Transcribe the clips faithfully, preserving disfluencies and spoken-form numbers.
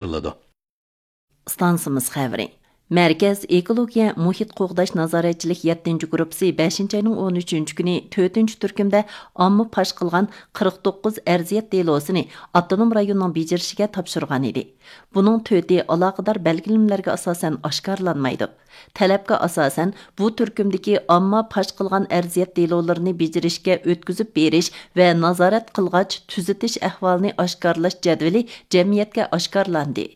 ئايرىلىدۇ. ئىستانسىمىز خەۋىرى. مەركەز ئېكولوگىيە مۇھىت قوغداش نازارەتچىلىك يەتتىنچى گۇرۇپپىسى بەشىنچى ئاينىڭ ئون ئۈچىنچى كۈنى تۆتىنچى تۈركۈمدە ئامما پاش قىلغان قىرىق توققۇز ئەرزىيەت دېلوسىنى ئاپتونوم رايوننىڭ بېجىرىشىگە تاپشۇرغان ئىدى. بۇنىڭ تۆتى ئالاقىدار بەلگىلىمىلەرگە ئاساسەن ئاشكارىلانمايدۇ. تەلەپكە ئاساسەن، بۇ تۈركۈمدىكى ئامما پاش قىلغان ئەرزىيەت دېلولىرىنى بېجىرىشكە ئۆتكۈزۈپ بېرىش ۋە نازارەت قىلغاچ تۈزىتىش ئەھۋالىنى ئاشكارىلاش جەدۋىلى جەمئىيەتكە ئاشكارىلاندى.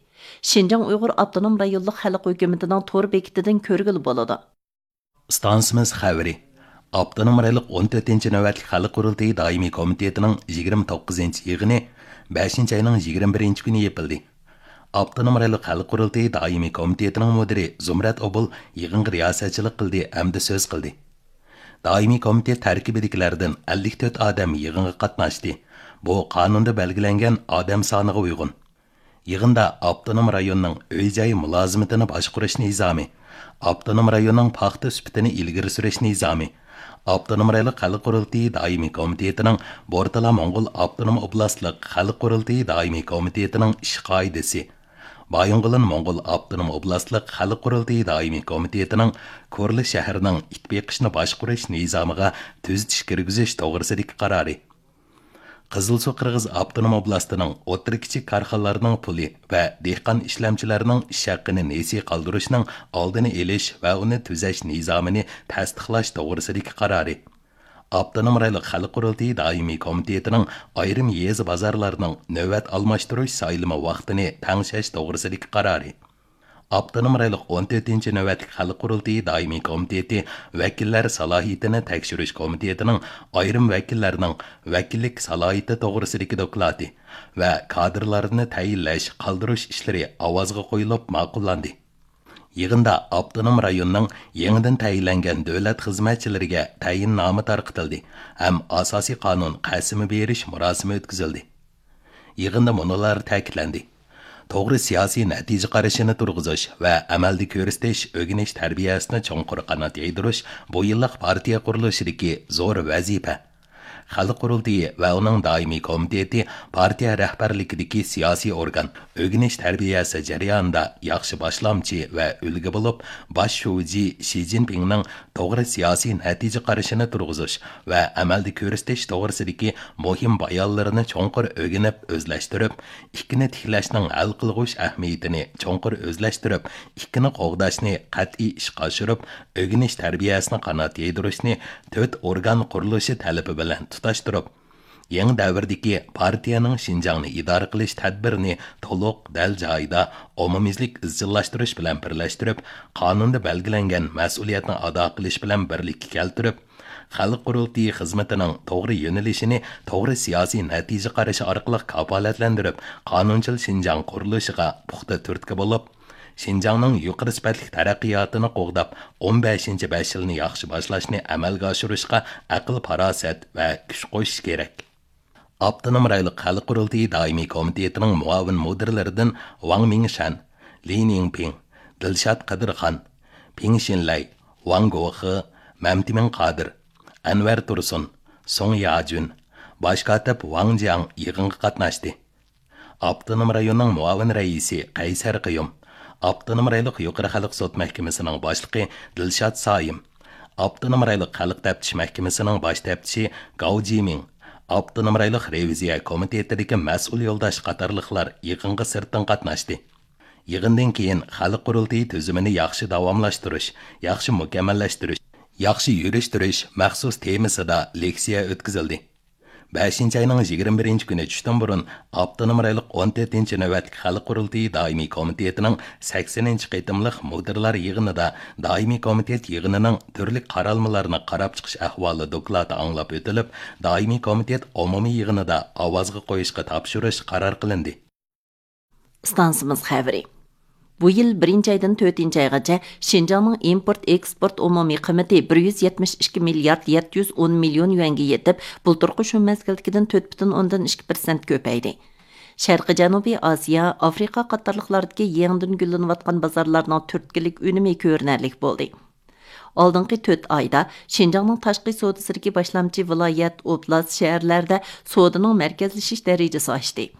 شىنجاڭ ئۇيغۇر ئاپتونوم رايونلۇق خەلق ھۆكۈمىتىنىڭ تور بېكىتىدىن كۆرگىلى بولىدۇ. ئىستانسىمىز خەۋىرى. ئاپتونوم رايونلۇق ئون تۆتىنچى نۆۋەتلىك خەلق قۇرۇلتىيى دائىمىي كومىتېتىنىڭ يىگىرمە توققۇزىنچى يىغىنى بەشىنچى ئاينىڭ يىگىرمە بىرىنچى كۈنى يېپىلدى. ئاپتونوم رايونلۇق خەلق قۇرۇلتىيى دائىمىي كومىتېتىنىڭ مۇدىرى زۇمرەت ئوبۇل يىغىنغا رىياسەتچىلىك قىلدى ھەمدە سۆز قىلدى. دائىمىي كومىتېت تەركىبىدىكىلەردىن ئەللىك تۆت ئادەم يىغىنغا قاتناشتى. بۇ قانۇندا بەلگىلەنگەن ئادەم سانىغا ئۇيغۇن. يىغىندا ئاپتونوم رايوننىڭ ئۆي-جاي مۇلازىمىتىنى باشقۇرۇش نىزامى، ئاپتونوم رايوننىڭ پاختا سۈپىتىنى ئىلگىرى سۈرۈش نىزامى، ئاپتونوم رايونلۇق خەلق قۇرۇلتىيى دائىمىي كومىتېتىنىڭ بورتالا موڭغۇل ئاپتونوم ئوبلاستلىق خەلق قۇرۇلتىيى دائىمىي كومىتېتىنىڭ ئىش قائىدىسى، بايىنغولىن موڭغۇل ئاپتونوم ئوبلاستلىق خەلق قۇرۇلتىيى دائىمىي كومىتېتىنىڭ كورلا شەھىرىنىڭ ئىت بېقىشنى باشقۇرۇش نىزامىغا تۈزىتىش كىرگۈزۈش توغرىسىدىكى قارارى، قىزىلسۇ قىرغىز ئاپتونوم ئوبلاستىنىڭ ئوتتۇرا، كىچىك كارخانىلارنىڭ پۇلى ۋە دېھقان ئىشلەمچىلەرنىڭ ئىش ھەققىنى نېسى قالدۇرۇشنىڭ ئالدىنى ئېلىش ۋە ئۇنى تۈزەش نىزامىنى تەستىقلاش توغرىسىدىكى قارارى، ئاپتونوم رايونلۇق خەلق قۇرۇلتىيى دائىمىي كومىتېتىنىڭ ئايرىم يېزا بازارلارنىڭ نۆۋەت ئالماشتۇرۇش سايلىمى ۋاقتىنى تەڭشەش توغرىسىدىكى قارارى، ئاپتونوم رايونلۇق ئون تۆتىنچى نۆۋەتلىك خەلق قۇرۇلتىيى دائىمىي كومىتېتى ۋەكىللەر سالاھىيىتىنى تەكشۈرۈش كومىتېتىنىڭ ئايرىم ۋەكىللەرنىڭ ۋەكىللىك سالاھىيىتى توغرىسىدىكى دوكلاتى ۋە كادىرلارنى تەيىنلەش، قالدۇرۇش ئىشلىرى ئاۋازغا قويۇلۇپ ماقۇللاندى. يىغىندا ئاپتونوم رايوننىڭ يېڭىدىن تەيىنلەنگەن دۆلەت خىزمەتچىلىرىگە تەيىننامە تارقىتىلدى ھەم ئاساسىي قانۇن قەسىمى بېرىش مۇراسىمى ئۆتكۈزۈلدى. يىغىندا مۇنۇلار تەكىتلەندى: توغرا سىياسىي نەتىجە قارىشىنى تۇرغۇزۇش ۋە ئەمەلدە كۆرسىتىش ئۆگىنىش تەربىيەسىنى چوڭقۇر قانات يايدۇرۇش بۇ يىللىق پارتىيە قۇرۇلۇشىدىكى زور ۋەزىپە. خەلق قۇرۇلتىيى ۋە ئۇنىڭ دائىمىي كومىتېتى پارتىيە رەھبەرلىكىدىكى سىياسىي ئورگان، ئۆگىنىش تەربىيەسى جەريانىدا ياخشى باشلامچى ۋە ئۈلگە بولۇپ، باش شۇجى شى جىنپىڭنىڭ توغرا سىياسىي نەتىجە قارىشىنى تۇرغۇزۇش ۋە ئەمەلدە كۆرسىتىش توغرىسىدىكى مۇھىم بايانلىرىنى چوڭقۇر ئۆگىنىپ ئۆزلەشتۈرۈپ، ئىككىنى تىكلەشنىڭ ھەل قىلغۇچ ئەھمىيىتىنى چوڭقۇر ئۆزلەشتۈرۈپ، ئىككىنى قوغداشنى قەتئىي ئىشقا ئاشۇرۇپ، ئۆگىنىش تەربىيەسىنى قانات يايدۇرۇشنى تۆت ئورگان قۇرۇلۇشى تەلىپى بىلەن تۇتاشتۇرۇپ، يېڭى دەۋردىكى پارتىيەنىڭ شىنجاڭنى ئىدارە قىلىش تەدبىرىنى تولۇق، دەل جايىدا، ئومۇميۈزلۈك ئىزچىللاشتۇرۇش بىلەن بىرلەشتۈرۈپ، قانۇندا بەلگىلەنگەن مەسئۇلىيەتنى ئادا قىلىش بىلەن بىرلىككە كەلتۈرۈپ، خەلق قۇرۇلتىيى خىزمىتىنىڭ توغرا يۆنىلىشىنى توغرا سىياسىي نەتىجە قارىشى ئارقىلىق كاپالەتلەندۈرۈپ، قانۇنچىل شىنجاڭ قۇرۇلۇشىغا پۇختا تۈرتكە بولۇپ، شىنجاڭنىڭ يۇقىرى سۈپەتلىك تەرەققىياتىنى قوغداپ، ئون بەشىنچى بەش يىلنى ياخشى باشلاشنى ئەمەلگە ئاشۇرۇشقا ئەقىل-پاراسەت ۋە كۈچ قوشۇش كېرەك. ئاپتونوم رايونلۇق خەلق قۇرۇلتىيى دائىمىي كومىتېتىنىڭ مۇئاۋىن مۇدىرلىرىدىن ۋاڭ مىڭشەن، لى نىڭپىڭ، دىلشات قادىرخان، پىڭ شىنلەي، ۋاڭ گوخې، مەمتىمىن قادىر، ئەنۋەر تۇرسۇن، سۇڭ ياجۈن، باش كاتىپ ۋاڭ جياڭ يىغىنغا قاتناشتى. ئاپتونوم رايوننىڭ مۇئاۋىن رەئىسى قەيسەر قىيۇم، ئاپتونوم رايونلۇق يۇقىرى خەلق سوت مەھكىمىسىنىڭ باشلىقى دىلشات سايىم، ئاپتونوم رايونلۇق خەلق تەپتىش مەھكىمىسىنىڭ باش تەپتىشى گاۋ جىمىڭ، ئاپتونوم رايونلۇق رېۋىزىيە كومىتېتىدىكى مەسئۇل يولداش قاتارلىقلار يىغىنغا سىرتتىن قاتناشتى. يىغىندىن كېيىن خەلق قۇرۇلتىيى تۈزۈمىنى ياخشى داۋاملاشتۇرۇش، ياخشى مۇكەممەللەشتۈرۈش، ياخشى يۈرۈشتۈرۈش مەخسۇس تېمىسىدا لېكسىيە ئۆتكۈزۈلدى. بەشىنچى ئاينىڭ يىگىرمە بىرىنچى كۈنى چۈشتىن بۇرۇن ئاپتونوم رايونلۇق ئون تۆتىنچى نۆۋەتلىك خەلق قۇرۇلتىيى دائىمىي كومىتېتىنىڭ سەكسىنىنچى قېتىملىق مۇدىرلار يىغىنىدا دائىمىي كومىتېت يىغىنىنىڭ تۈرلۈك قارالمىلارنى قاراپ چىقىش ئەھۋالى دوكلاتى ئاڭلاپ ئۆتۈلۈپ، دائىمىي كومىتېت ئومۇمىي يىغىنىدا ئاۋازغا قويۇشقا تاپشۇرۇش قارار قىلىندى. ئىستانسىمىز خەۋىرى. بۇ يىل بىرىنچى ئايدىن تۆتىنچى ئايغىچە شىنجاڭنىڭ ئىمپورت ئېكسپورت ئومۇمىي قىممىتى بىر يۈز يەتمىش ئىككى مىليارد يەتتە يۈز ئون مىليون يۈەنگە يېتىپ، بۇلتۇرقى شۇ مەزگىلدىكىدىن تۆت پۈتۈن ئوندىن ئىككى پىرسەنت كۆپەيدى. شەرقىي جەنۇبىي ئاسىيا، ئافرىقا قاتارلىقلاردىكى يېڭىدىن گۈللىنىۋاتقان بازارلارنىڭ تۈرتكىلىك ئۈنۈمى كۆرۈنەرلىك بولدى. ئالدىنقى تۆت ئايدا شىنجاڭنىڭ تاشقى سودىسىدىكى باشلامچى ۋىلايەت، ئوبلاست، شەھەرلەردە سودىنىڭ مەركەزلىشىش دەرىجىسى ئاشتى.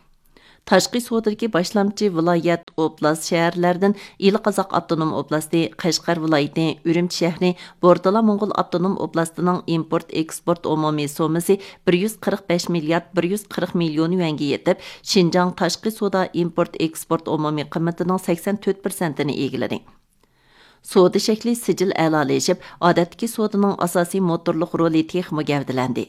تاشقى سودىدىكى باشلامچى ۋىلايەت، ئوبلاست، شەھەرلەردىن ئىلى قازاق ئاپتونوم ئوبلاستى، قەشقەر ۋىلايىتى، ئۈرۈمچى شەھىرى، بورتالا موڭغۇل ئاپتونوم ئوبلاستىنىڭ ئىمپورت ئېكسپورت ئومۇمىي سوممىسى بىر يۈز قىرىق بەش مىليارد بىر يۈز قىرىق مىليون يۈەنگە يېتىپ، شىنجاڭ تاشقى سودا ئىمپورت ئېكسپورت ئومۇمىي قىممىتىنىڭ سەكسەن تۆت پىرسەنتىنى ئىگىلىدى. سودا شەكلى سىجىل ئەلالىشىپ، ئادەتتىكى سودىنىڭ ئاساسىي موتورلۇق رولى تېخىمۇ گەۋدىلەندى.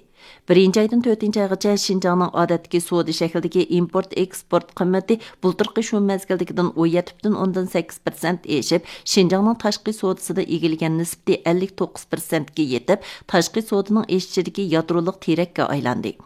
بىرىنچى ئايدىن تۆتىنچى ئايغىچە شىنجاڭنىڭ ئادەتتىكى سودا شەكلىدىكى ئىمپورت ئېكسپورت قىممىتى بۇلتۇرقى شۇ مەزگىلدىكىدىن ئون يەتتە پۈتۈن ئوندىن سەككىز پىرسەنت ئېشىپ، شىنجاڭنىڭ تاشقى سودىسىدا ئىگىلىگەن نىسبىتى ئەللىك توققۇز پىرسەنتكە يېتىپ، تاشقى سودىنىڭ ئېشىشىدىكى يادرولۇق تىرەككە ئايلاندى.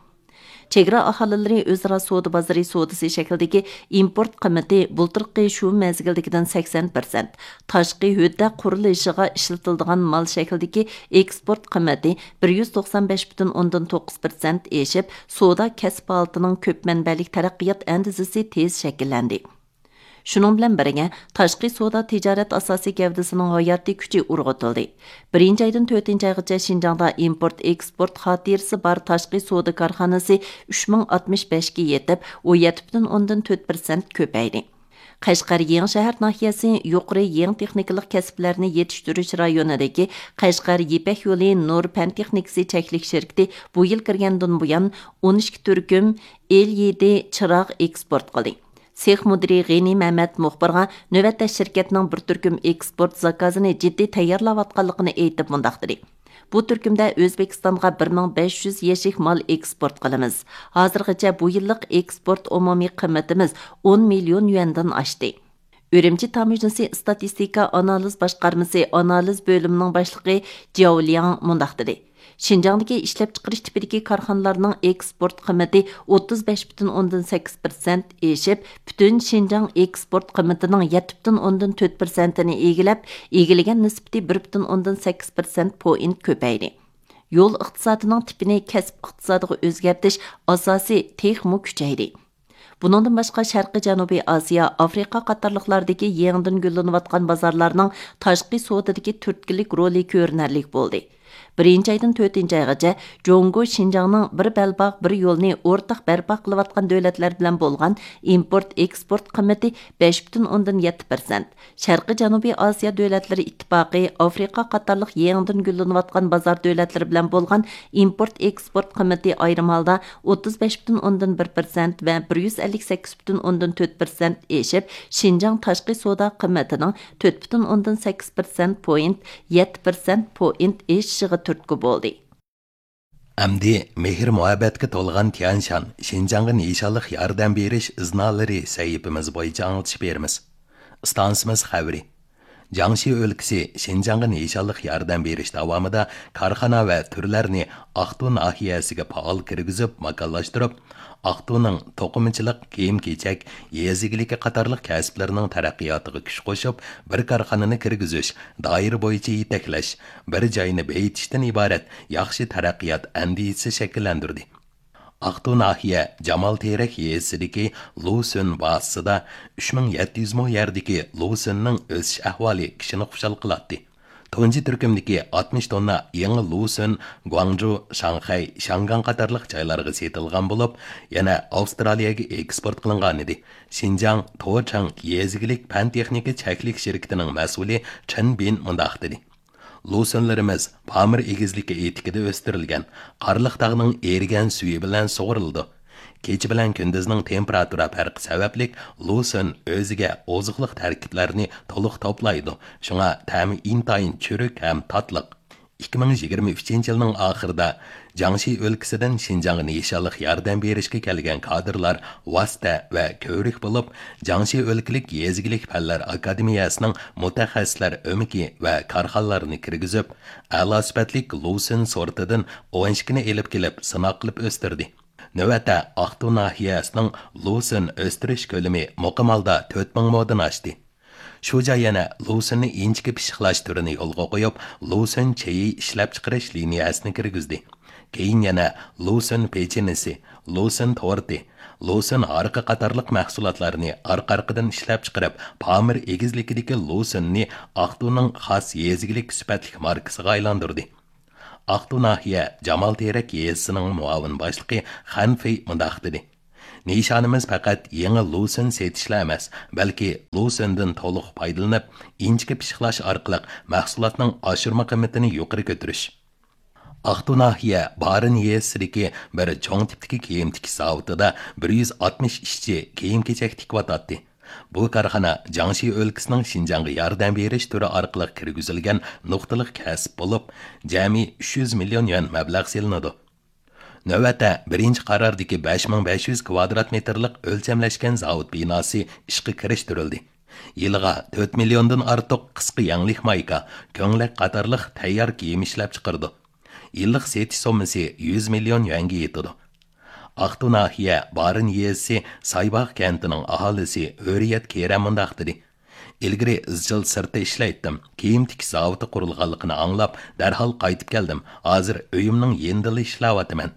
چېگرا ئاھالىلىرى ئۆزئارا سودا بازىرى سودىسى شەكلىدىكى ئىمپورت قىممىتى بۇلتۇرقى شۇ مەزگىلدىكىدىن سەكسەن پىرسەنت، تاشقى ھۆددە قۇرۇلۇشىغا ئىشلىتىلىدىغان مال شەكلىدىكى ئېكسپورت قىممىتى بىر يۈز توقسان بەش پۈتۈن ئوندىن توققۇز پىرسەنت ئېشىپ، سودا كەسىپ ھالىتىنىڭ كۆپ مەنبەلىك تەرەققىيات ئەندىزىسى تېز شەكىللەندى. شۇنىڭ بىلەن بىرگە، تاشقى سودا تىجارەت ئاساسىي گەۋدىسىنىڭ ھاياتىي كۈچى ئۇرغۇتۇلدى. بىرىنچى ئايدىن تۆتىنچى ئايغىچە شىنجاڭدا ئىمپورت ئېكسپورت خاتىرىسى بار تاشقى سودا كارخانىسى ئۈچ مىڭ ئاتمىش بەشكە يېتىپ، ئون يەتتە پۈتۈن ئوندىن تۆت پىرسەنت كۆپەيدى. قەشقەر يېڭىشەھەر ناھىيەسى يۇقىرى يېڭى تېخنىكىلىق كەسىپلەرنى يېتىشتۈرۈش رايونىدىكى قەشقەر يىپەك يولى نۇر پەن تېخنىكىسى چەكلىك شىركىتى بۇ يىل كىرگەندىن بۇيان ئون ئىككى تۈركۈم ئېل ئى دى چىراغ ئېكسپورت قىلدى. سېخ مۇدىرى غېنى مەمەت مۇخبىرغا نۆۋەتتە شىركەتنىڭ بىر تۈركۈم ئېكسپورت زاكازىنى جىددىي تەييارلاۋاتقانلىقىنى ئېيتىپ مۇنداق دېدى: بۇ تۈركۈمدە ئۆزبېكىستانغا بىر مىڭ بەش يۈز يەشىك مال ئېكسپورت قىلىمىز. ھازىرغىچە بۇ يىللىق ئېكسپورت ئومۇمىي قىممىتىمىز ئون مىليون يۈەندىن ئاشتى. ئۈرۈمچى تاموژنىسى ئىستاتىستىكا ئانالىز باشقارمىسى ئانالىز بۆلۈمىنىڭ باشلىقى جياۋ لياڭ مۇنداق دېدى: شىنجاڭدىكى ئىشلەپچىقىرىش تىپىدىكى كارخانىلارنىڭ ئېكسپورت قىممىتى ئوتتۇز بەش پۈتۈن ئوندىن سەككىز پىرسەنت ئېشىپ، پۈتۈن شىنجاڭ ئېكسپورت قىممىتىنىڭ يەتتە پۈتۈن ئوندىن تۆت پىرسەنتىنى ئىگىلەپ، ئىگىلىگەن نىسبىتى بىر پۈتۈن ئوندىن سەككىز پىرسەنت پوينت كۆپەيدى. يول ئىقتىسادىنىڭ تىپىنى كەسىپ ئىقتىسادىغا ئۆزگەرتىش ئاساسى تېخىمۇ كۈچەيدى. بۇنىڭدىن باشقا، شەرقىي جەنۇبىي ئاسىيا، ئافرىقا قاتارلىقلاردىكى يېڭىدىن گۈللىنىۋاتقان بازارلارنىڭ تاشقى سودىدىكى تۈرتكىلىك رولى كۆرۈنەرلىك بولدى. بىرىنچى ئايدىن تۆتىنچى ئايغىچە جۇڭگو شىنجاڭنىڭ بىر بەلباغ، بىر يولنى ئورتاق بەرپا قىلىۋاتقان دۆلەتلەر بىلەن بولغان ئىمپورت ئېكسپورت قىممىتى بەش پۈتۈن ئوندىن يەتتە پىرسەنت، شەرقىي جەنۇبىي ئاسىيا دۆلەتلىرى ئىتتىپاقى، ئافرىقا قاتارلىق يېڭىدىن گۈللىنىۋاتقان بازار دۆلەتلىرى بىلەن بولغان ئىمپورت ئېكسپورت قىممىتى ئايرىم ھالدا ئوتتۇز بەش پۈتۈن ئوندىن بىر پىرسەنت ۋە بىر يۈز ئەللىك سەككىز پۈتۈن ئوندىن تۆت پىرسەنت ئېشىپ، شىنجاڭ تاشقى سودا قىممىتىنىڭ تۆت پۈتۈن ئوندىن سەككىز پىرسەنت پوينت، يەتتە پىرسەنت پوينت ئېشىشىغا تۈرتكە بولدى. ئەمدى مېھىر-مۇھەببەتكە تولغان تيەنشان شىنجاڭغا نىشانلىق ياردەم بېرىش ئىزنالىرى سەھىپىمىز بويىچە ئاڭلىتىش بېرىمىز. ئىستانسىمىز خەۋىرى. جياڭشى ئۆلكىسى شىنجاڭغا نىشانلىق ياردەم بېرىش داۋامىدا كارخانا ۋە تۈرلەرنى ئاقتۇ ناھىيەسىگە پائال كىرگۈزۈپ ماكانلاشتۇرۇپ، ئاقتۇنىڭ توقۇمىچىلىق، كىيىم-كېچەك، يېزا ئىگىلىكى قاتارلىق كەسىپلىرىنىڭ تەرەققىياتىغا كۈچ قوشۇپ، بىر كارخانىنى كىرگۈزۈش، دائىرە بويىچە يېتەكلەش، بىر جاينى بېيىتىشتىن ئىبارەت ياخشى تەرەققىيات ئەندىزىسى شەكىللەندۈردى. ئاقتۇ ناھىيە جامال تېرەك يېزىسىدىكى لۇسۈن بازىسىدا ئۈچ مىڭ يەتتە يۈز مو يەردىكى لۇسۈننىڭ ئۆسۈش ئەھۋالى كىشىنى خۇشال قىلاتتى. تۇنجى تۈركۈمدىكى ئاتمىش توننا يېڭى لۇسۈن گۇاڭجۇ، شاڭخەي، شياڭگاڭ قاتارلىق جايلارغا سېتىلغان بولۇپ، يەنە ئاۋسترالىيەگە ئېكسپورت قىلىنغانىدى. شىنجاڭ توچاڭ يېزا ئىگىلىك پەن تېخنىكا چەكلىك شىركىتىنىڭ مەسئۇلى چېن بىن مۇنداق دېدى: لۇسۈنلىرىمىز پامىر ئېگىزلىكى ئېتىكىدە ئۆستۈرۈلگەن، قارلىق تاغنىڭ ئېرىگەن سۈيى بىلەن سۇغۇرۇلىدۇ. كېچە بىلەن كۈندۈزنىڭ تېمپېراتۇرا پەرقى سەۋەبلىك لۇسۈن ئۆزىگە ئوزۇقلۇق تەركىبلەرنى تولۇق توپلايدۇ، شۇڭا تەمى ئىنتايىن چۈرۈك ھەم تاتلىق. ئىككى مىڭ يىگىرمە ئۈچىنچى يىلنىڭ ئاخىرىدا جياڭشى ئۆلكىسىدىن شىنجاڭغا نىشانلىق ياردەم بېرىشكە كەلگەن كادىرلار ۋاسىتە ۋە كۆۋرۈك بولۇپ، جياڭشى ئۆلكىلىك يېزا ئىگىلىك پەنلەر ئاكادېمىيەسىنىڭ مۇتەخەسسىسلەر ئۆمىكى ۋە كارخانىلارنى كىرگۈزۈپ، ئەلا سۈپەتلىك لۇسۈن سورتىدىن ئون ئىككىنى ئېلىپ كېلىپ سىناق قىلىپ ئۆستۈردى. نۆۋەتتە ئاقتۇ ناھىيەسىنىڭ لۇسۈن ئۆستۈرۈش كۆلىمى مۇقىم ھالدا تۆت مىڭ مودىن ئاشتى. شۇجا يەنە لۇسۈننى ئىنچىكە پىششىقلاش تۈرىنى يولغا قويۇپ، لۇسۈن چېيى ئىشلەپچىقىرىش لىنىيەسىنى كىرگۈزدى. كېيىن يەنە لۇسۈن پېچىنىسى، لۇسۈن تورتى، لۇسۈن ھارىقى قاتارلىق مەھسۇلاتلارنى ئارقا-ئارقىدىن ئىشلەپچىقىرىپ، پامىر ئېگىزلىكىدىكى لۇسۈننى ئاقتۇنىڭ خاس يېزا ئىگىلىك سۈپەتلىك ماركىسىغا ئايلاندۇردى. ئاقتۇ ناھىيە جامال تېرەك يېزىسىنىڭ مۇئاۋىن باشلىقى خەن فېي مۇنداق دېدى: نىشانىمىز پەقەت يېڭى لۇسۈن سېتىشلا ئەمەس، بەلكى لۇسۈندىن تولۇق پايدىلىنىپ، ئىنچىكە پىششىقلاش ئارقىلىق مەھسۇلاتنىڭ ئاشۇرما قىممىتىنى يۇقىرى كۆتۈرۈش. ئاقتۇ ناھىيە بارىن يېزىسىدىكى بىر چوڭ تىپتىكى كىيىم تىكىش زاۋۇتىدا بىر يۈز ئاتمىش ئىشچى كىيىم-كېچەك تىكىۋاتاتتى. بۇ كارخانا جياڭشى ئۆلكىسىنىڭ شىنجاڭغا ياردەم بېرىش تۈرى ئارقىلىق كىرگۈزۈلگەن نۇقتىلىق كەسىپ بولۇپ، جەمئىي ئۈچ يۈز مىليون يۈەن مەبلەغ سېلىنىدۇ. نۆۋەتتە بىرىنچى قارارىدىكى بەش مىڭ بەش يۈز كۋادرات مېتىرلىق ئۆلچەملەشكەن زاۋۇت بىناسى ئىشقا كىرىشتۈرۈلدى. يىلىغا تۆت مىليوندىن ئارتۇق قىسقا يەڭلىك مايكا، كۆڭلەك قاتارلىق تەييار كىيىم ئىشلەپچىقىرىدۇ. يىللىق سېتىش سوممىسى يۈز مىليون يۈەنگە يېتىدۇ. ئاقتۇ ناھىيە بارىن يېزىسى سايباغ كەنتىنىڭ ئاھالىسى ھۆرىيەت كېرەم مۇنداق دېدى: «ئىلگىرى ئىزچىل سىرتتا ئىشلەيتتىم. كىيىم تىكىش زاۋۇتى قۇرۇلغانلىقىنى ئاڭلاپ، دەرھال قايتىپ كەلدىم. ھازىر ئۆيۈمنىڭ يېنىدىلا ئىشلەۋاتىمەن.»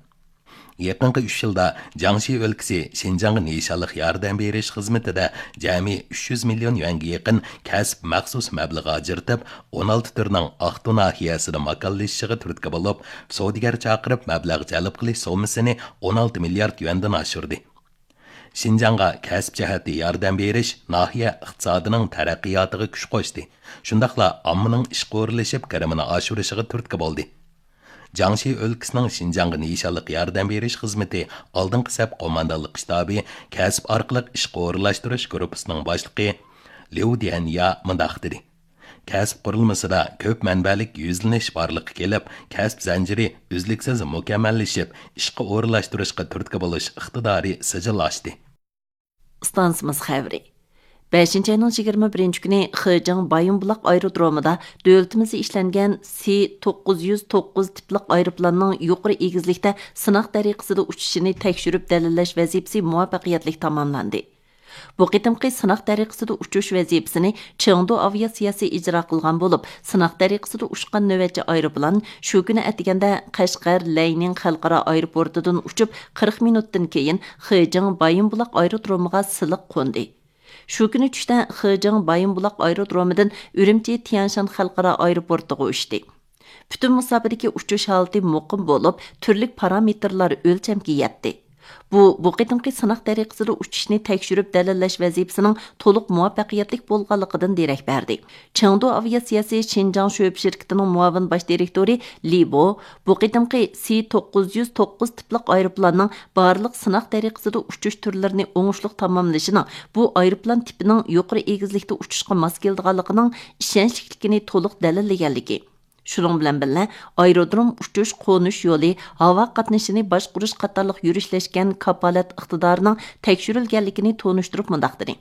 يېقىنقى ئۈچ يىلدا جياڭشى ئۆلكىسى شىنجاڭغا نىشانلىق ياردەم بېرىش خىزمىتىدە جەمئىي ئۈچ يۈز مىليون يۈەنگە يېقىن كەسىپ مەخسۇس مەبلىغى ئاجرىتىپ، ئون ئالتە تۈرنىڭ ئاقتۇ ناھىيەسىدە ماكانلىشىشىغا تۈرتكە بولۇپ، سودىگەر چاقىرىپ مەبلەغ جەلپ قىلىش سوممىسىنى ئون ئالتە مىليارد يۈەندىن ئاشۇردى. شىنجاڭغا كەسىپ جەھەتتە ياردەم بېرىش ناھىيە ئىقتىسادىنىڭ تەرەققىياتىغا كۈچ قوشتى، شۇنداقلا ئاممىنىڭ ئىشقا ئورۇنلىشىپ، كىرىمىنى ئاشۇرۇشىغا تۈرتكە بولدى. جياڭشى ئۆلكىسىنىڭ شىنجاڭغا نىشانلىق ياردەم بېرىش خىزمىتى ئالدىنقى سەپ قوماندانلىق شتابى كەسىپ ئارقىلىق ئىشقا ئورۇنلاشتۇرۇش گۇرۇپپىسىنىڭ باشلىقى ليۇ ديەنيا مۇنداق دېدى: «كەسىپ قۇرۇلمىسىدا كۆپ مەنبەلىك يۈزلىنىش بارلىققا كېلىپ، كەسىپ زەنجىرى ئۈزلۈكسىز مۇكەممەللىشىپ، ئىشقا ئورۇنلاشتۇرۇشقا تۈرتكە بولۇش ئىقتىدارى سىجىللاشتى.» ئىستانسىمىز خەۋىرى. بەشىنچى ئاينىڭ يىگىرمە بىرىنچى كۈنى خېجىڭ بايىنبۇلاق ئايرودرومىدا دۆلىتىمىزدە ئىشلەنگەن سى توققۇز يۈز توققۇز تىپلىق ئايروپىلاننىڭ يۇقىرى ئېگىزلىكتە سىناق تەرىقىسىدە ئۇچۇشىنى تەكشۈرۈپ دەلىللەش ۋەزىپىسى مۇۋەپپەقىيەتلىك تاماملاندى. بۇ قېتىمقى سىناق تەرىقىسىدە ئۇچۇش ۋەزىپىسىنى چېڭدۇ ئاۋىئاتسىيەسى ئىجرا قىلغان بولۇپ، سىناق تەرىقىسىدە ئۇچقان نۆۋەتچى ئايروپىلان شۇ كۈنى ئەتىگەندە قەشقەر لەينىڭ خەلقئارا ئايروپورتىدىن ئۇچۇپ، قىرىق مىنۇتتىن كېيىن خېجىڭ بايىنبۇلاق ئايرودرومىغا سىلىق قوندى. شۇ كۈنى چۈشتە خېجىڭ بايىنبۇلاق ئايرودرومىدىن ئۈرۈمچى تيەنشان خەلقئارا ئايروپورتىغا ئۇچتى. پۈتۈن مۇساپىدىكى ئۇچۇش ھالىتى مۇقىم بولۇپ، تۈرلۈك پارامېتىرلار ئۆلچەمگە يەتتى. بۇ، بۇ قېتىمقى سىناق تەرىقىسىدە ئۇچۇشنى تەكشۈرۈپ دەلىللەش ۋەزىپىسىنىڭ تولۇق مۇۋەپپەقىيەتلىك بولغانلىقىدىن دېرەك بەردى. چېڭدۇ ئاۋىئاتسىيەسى شىنجاڭ شۆبە شىركىتىنىڭ مۇئاۋىن باش دىرېكتورى لى بو، بۇ قېتىمقى سى توققۇز يۈز توققۇز تىپلىق ئايروپىلاننىڭ بارلىق سىناق تەرىقىسىدە ئۇچۇش تۈرلىرىنى ئوڭۇشلۇق تاماملىشىنىڭ بۇ ئايروپىلان تىپىنىڭ يۇقىرى ئېگىزلىكتە ئۇچۇشقا ماس كېلىدىغانلىقىنىڭ ئىشەنچلىكلىكىنى تولۇق دەلىللىگەنلىكى، شۇنىڭ بىلەن بىللە، ئايرودروم ئۇچۇش، قونۇش يولى، ھاۋا قاتنىشىنى باشقۇرۇش قاتارلىق يۈرۈشلەشكەن كاپالەت ئىقتىدارىنىڭ تەكشۈرۈلگەنلىكىنى تونۇشتۇرۇپ مۇنداق دېدى: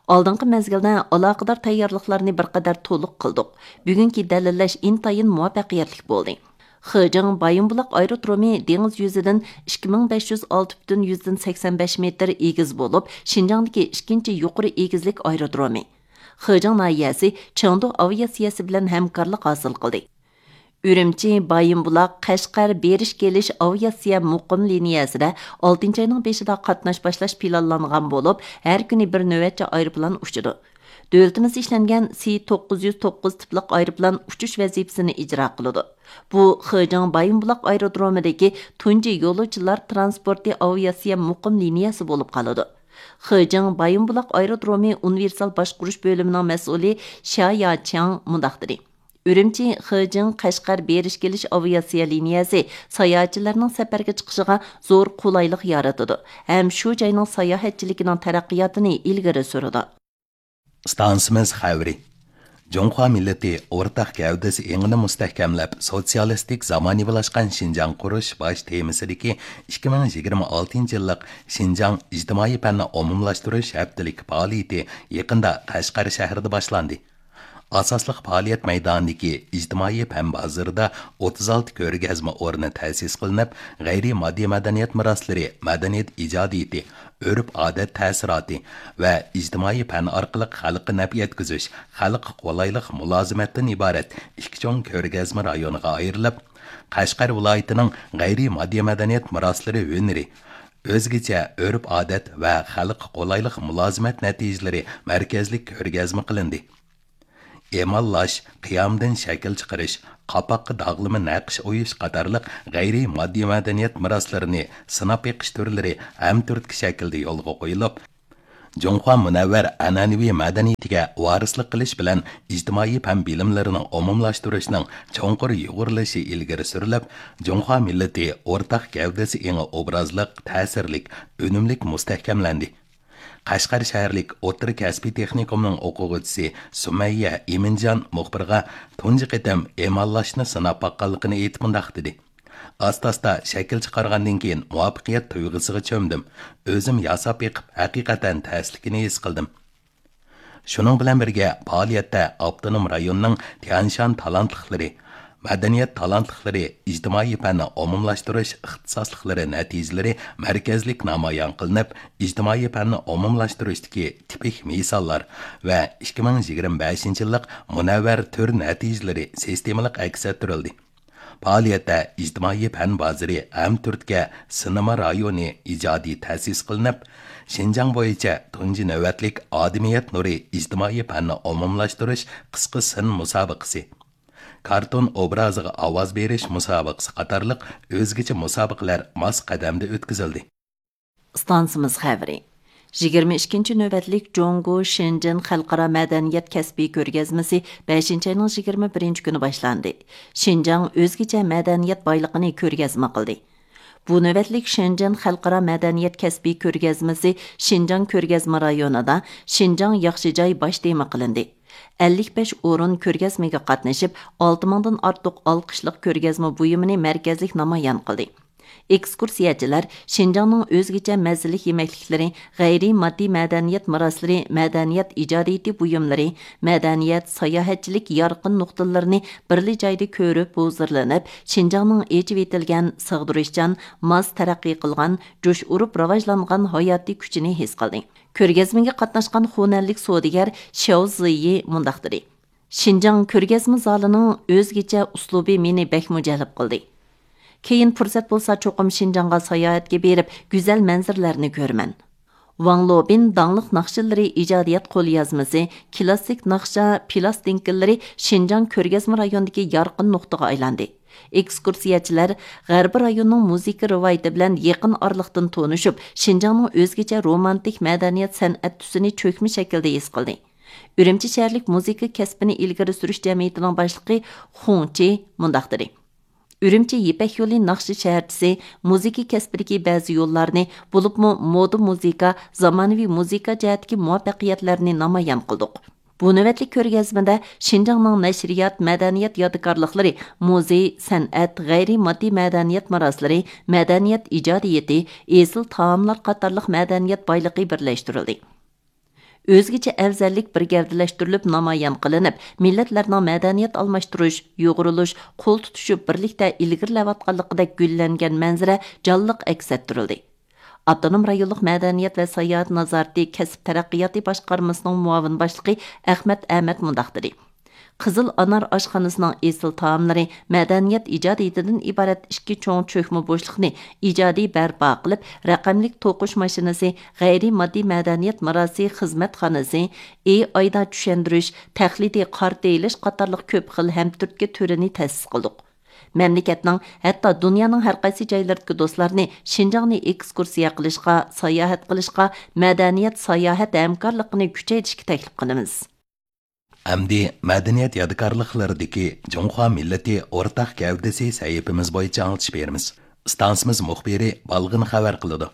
«ئالدىنقى مەزگىلدە ئالاقىدار تەييارلىقلارنى بىر قەدەر تولۇق قىلدۇق. بۈگۈنكى دەلىللەش ئىنتايىن مۇۋەپپەقىيەتلىك بولدى.» خېجىڭ بايىنبۇلاق ئايرودرومى دېڭىز يۈزىدىن ئىككى مىڭ بەش يۈز ئالتە پۈتۈن يۈزدىن سەكسەن بەش مېتىر ئېگىز بولۇپ، شىنجاڭدىكى ئىككىنچى يۇقىرى ئېگىزلىك ئايرودرومى. خېجىڭ ناھىيەسى چېڭدۇ ئاۋىئاتسىيەسى بىلەن ھەمكارلىق ھاسىل قىلدى. ئۈرۈمچى، بايىنبۇلاق، قەشقەر بېرىش كېلىش ئاۋىئاتسىيە مۇقىم لىنىيەسىدە ئالتىنچى ئاينىڭ بېشىدا قاتناش باشلاش پىلانلانغان بولۇپ، ھەر كۈنى بىر نۆۋەتچى ئايروپىلان ئۇچىدۇ. دۆلىتىمىزدە ئىشلەنگەن سى توققۇز يۈز توققۇز تىپلىق ئايروپىلان ئۇچۇش ۋەزىپىسىنى ئىجرا قىلىدۇ. بۇ خېجىڭ بايىنبۇلاق ئايرودرومىدىكى تۇنجى يولۇچىلار ترانسپورتى ئاۋىئاتسىيە مۇقىم لىنىيەسى بولۇپ قالىدۇ. خېجىڭ بايىنبۇلاق ئايرودرومى ئۇنىۋېرسال باشقۇرۇش بۆلۈمىنىڭ مەسئۇلى شيا ياچياڭ مۇنداق دېدى: «ئۈرۈمچى، خېجىڭ، قەشقەر بېرىش كېلىش ئاۋىئاتسىيە لىنىيەسى ساياھەتچىلەرنىڭ سەپەرگە چىقىشىغا زور قولايلىق يارىتىدۇ ھەم شۇ جاينىڭ ساياھەتچىلىكىنىڭ تەرەققىياتىنى ئىلگىرى سۈرىدۇ.» ئىستانسىمىز خەۋىرى. جۇڭخۇا مىللىتى ئورتاق گەۋدىسى ئېڭىنى مۇستەھكەملەپ، سوتسىيالىستىك زامانىۋىلاشقان شىنجاڭ قۇرۇش باش تېمىسىدىكى ئىككى مىڭ يىگىرمە ئالتىنچى يىللىق شىنجاڭ ئىجتىمائىي پەننى ئومۇملاشتۇرۇش ھەپتىلىك پائالىيىتى يېقىندا قەشقەر شەھىرىدە باشلاندى. ئاساسلىق پائالىيەت مەيدانىدىكى ئىجتىمائىي پەن بازىرىدا ئوتتۇز ئالتە كۆرگەزمە ئورنى تەسىس قىلىنىپ، غەيرىي ماددىي مەدەنىيەت مىراسلىرى، مەدەنىيەت ئىجادىيىتى، ئۆرپ-ئادەت تەسىراتى ۋە ئىجتىمائىي پەن ئارقىلىق خەلققە نەپ يەتكۈزۈش، خەلققە قولايلىق مۇلازىمەتتىن ئىبارەت ئىككى چوڭ كۆرگەزمە رايونىغا ئايرىلىپ، قەشقەر ۋىلايىتىنىڭ غەيرىي ماددىي مەدەنىيەت مىراسلىرى ھۈنىرى، ئۆزگىچە ئۆرپ-ئادەت ۋە خەلققە قولايلىق مۇلازىمەت نەتىجىلىرى مەركەزلىك كۆرگەزمە قىلىندى. ئېماللاش، قىيامدىن شەكىل چىقىرىش، قاپاققا داغلىما نەقىش ئويۇش قاتارلىق غەيرىي ماددىي مەدەنىيەت مىراسلىرىنى سىناپ بېقىش تۈرلىرى ھەمتۈرتكە شەكىلدە يولغا قويۇلۇپ، جۇڭخۇا مۇنەۋۋەر ئەنئەنىۋى مەدەنىيىتىگە ۋارىسلىق قىلىش بىلەن ئىجتىمائىي پەن بىلىملىرىنىڭ ئومۇملاشتۇرۇشنىڭ چوڭقۇر يۇغۇرۇلۇشى ئىلگىرى سۈرۈلۈپ، جۇڭخۇا مىللىتى ئورتاق گەۋدىسى ئېڭى ئوبرازلىق، تەسىرلىك، ئۈنۈملۈك مۇستەھكەملەندى. قەشقەر شەھەرلىك ئوتتۇرا كەسپىي تېخنىكومنىڭ ئوقۇغۇچىسى سۈمەييە ئىمىنجان مۇخبىرغا تۇنجى قېتىم ئېماللاشنى سىناپ باققانلىقىنى ئېيتىپ مۇنداق دېدى: ئاستا-ئاستا شەكىل چىقارغاندىن كېيىن مۇۋەپپەقىيەت تۇيغۇسىغا چۆمدۈم. ئۆزۈم ياساپ بېقىپ، ھەقىقەتەن تەسلىكىنى ھېس قىلدىم. شۇنىڭ بىلەن بىرگە، پائالىيەتتە ئاپتونوم رايوننىڭ تيەنشان تالانتلىقلىرى، مەدەنىيەت تالانتلىقلىرى، ئىجتىمائىي پەننى ئومۇملاشتۇرۇش ئىختىساسلىقلىرى نەتىجىلىرى مەركەزلىك نامايان قىلىنىپ، ئىجتىمائىي پەننى ئومۇملاشتۇرۇشتىكى تىپىك مىساللار ۋە ئىككى مىڭ يىگىرمە بەشىنچى يىللىق مۇنەۋۋەر تۈر نەتىجىلىرى سىستېمىلىق ئەكس ئەتتۈرۈلدى. پائالىيەتتە ئىجتىمائىي پەن بازىرى ھەمتۈرتكە سىنېما رايونى ئىجادىي تەسىس قىلىنىپ، شىنجاڭ بويىچە تۇنجى نۆۋەتلىك ئادىمىيەت نۇرى ئىجتىمائىي پەننى ئومۇملاشتۇرۇش قىسقا سىن مۇسابىقىسى، كارتون ئوبرازىغا ئاۋاز بېرىش مۇسابىقىسى قاتارلىق ئۆزگىچە مۇسابىقىلەر ماس قەدەمدە ئۆتكۈزۈلدى. ئىستانسىمىز خەۋىرى. يىگىرمە ئىككىنچى نۆۋەتلىك جۇڭگو شېنجېن خەلقئارا مەدەنىيەت كەسپىي كۆرگەزمىسى بەشىنچى ئاينىڭ يىگىرمە بىرىنچى كۈنى باشلاندى. شىنجاڭ ئۆزگىچە مەدەنىيەت بايلىقىنى كۆرگەزمە قىلدى. بۇ نۆۋەتلىك شېنجېن خەلقئارا مەدەنىيەت كەسپىي كۆرگەزمىسى شىنجاڭ كۆرگەزمە رايونىدا شىنجاڭ ياخشى جاي باش تېما قىلىندى. ئەللىك بەش ئورۇن كۆرگەزمىگە قاتنىشىپ، ئالتە مىڭدىن ئارتۇق ئالقىشلىق كۆرگەزمە بۇيۇمىنى مەركەزلىك نامايان قىلدى. ئېكسكۇرسىيەچىلەر شىنجاڭنىڭ ئۆزگىچە مەززىلىك يېمەكلىكلىرى، غەيرىي ماددىي مەدەنىيەت مىراسلىرى، مەدەنىيەت ئىجادىيىتى بۇيۇملىرى، مەدەنىيەت، ساياھەتچىلىك يارقىن نۇقتىلىرىنى بىرلا جايدا كۆرۈپ ھۇزۇرلىنىپ، شىنجاڭنىڭ ئېچىۋېتىلگەن، سىغدۇرۇشچان، ماس تەرەققىي قىلغان، جۇش ئۇرۇپ راۋاجلانغان ھاياتىي كۈچىنى ھېس قىلدى. كۆرگەزمىگە قاتناشقان خۇنەنلىك سودىگەر شياۋ زىيى مۇنداق دېدى: شىنجاڭ كۆرگەزمە زالىنىڭ ئۆزگىچە ئۇسلۇبى مېنى بەكمۇ جەلپ قىلدى. كېيىن پۇرسەت بولسا، چوقۇم شىنجاڭغا ساياھەتكە بېرىپ، گۈزەل مەنزىرىلەرنى كۆرىمەن. ۋاڭ لوبىن داڭلىق ناخشىلىرى ئىجادىيەت قوليازمىسى، كلاسسىك ناخشا پىلاستىنكىلىرى شىنجاڭ كۆرگەزمە رايونىدىكى يارقىن نۇقتىغا ئايلاندى. ئېكسكۇرسىيەچىلەر غەربىي رايوننىڭ مۇزىكا رىۋايىتى بىلەن يېقىن ئارىلىقتىن تونۇشۇپ، شىنجاڭنىڭ ئۆزگىچە رومانتىك مەدەنىيەت سەنئەت تۈسىنى چۆكمە شەكىلدە ھېس قىلدى. ئۈرۈمچى شەھەرلىك مۇزىكا كەسپىنى ئىلگىرى سۈرۈش جەمئىيىتىنىڭ باشلىقى خۇڭ چى مۇنداق دېدى: ئۈرۈمچى يىپەك يولى ناخشا شەھەرچىسى مۇزىكا كەسپىدىكى بەزى يوللارنى، بولۇپمۇ مودا مۇزىكا، زامانىۋى مۇزىكا جەھەتتىكى مۇۋەپپەقىيەتلەرنى نامايان قىلدۇق. بۇ نۆۋەتلىك كۆرگەزمىدە شىنجاڭنىڭ نەشرىيات، مەدەنىيەت يادىكارلىقلىرى، مۇزېي، سەنئەت، غەيرىي ماددىي مەدەنىيەت مىراسلىرى، مەدەنىيەت ئىجادىيىتى، ئېسىل تائاملار قاتارلىق مەدەنىيەت بايلىقى بىرلەشتۈرۈلدى. ئۆزگىچە ئەۋزەللىك بىر گەۋدىلەشتۈرۈلۈپ نامايان قىلىنىپ، مىللەتلەرنىڭ مەدەنىيەت ئالماشتۇرۇش، يۇغۇرۇلۇش، قول تۇتۇشۇپ بىرلىكتە ئىلگىرىلەۋاتقانلىقىدەك گۈللەنگەن مەنزىرە جانلىق ئەكس ئەتتۈرۈلدى. ئاپتونوم رايونلۇق مەدەنىيەت ۋە ساياھەت نازارىتى كەسىپ تەرەققىياتى باشقارمىسىنىڭ مۇئاۋىن باشلىقى ئەخمەت ئەمەت مۇنداق دېدى: قىزىل ئانار ئاشخانىسىنىڭ ئېسىل تائاملىرى مەدەنىيەت ئىجادىيىتىدىن ئىبارەت ئىككى چوڭ چۆكمە بوشلۇقنى ئىجادىي بەرپا قىلىپ، رەقەملىك توقۇش ماشىنىسى، غەيرىي ماددىي مەدەنىيەت مىراسى خىزمەتخانىسى، ئېي ئايدا چۈشەندۈرۈش، تەقلىدىي قارتا ئېلىش قاتارلىق كۆپ خىل ھەمتۈرتكە تۈرىنى تەسىس قىلدۇق. مەملىكەتنىڭ، ھەتتا دۇنيانىڭ ھەر قايسى جايلىرىدىكى دوستلارنى شىنجاڭنى ئېكسكۇرسىيە قىلىشقا، ساياھەت قىلىشقا، مەدەنىيەت ساياھەت ھەمكارلىقىنى كۈچەيتىشكە تەكلىپ قىلىمىز. ئەمدى مەدەنىيەت يادىكارلىقلىرىدىكى جۇڭخۇا مىللىتى ئورتاق گەۋدىسى سەھىپىمىز بويىچە ئاڭلىتىش بېرىمىز. ئىستانسىمىز مۇخبىرى بالغىن خەۋەر قىلىدۇ.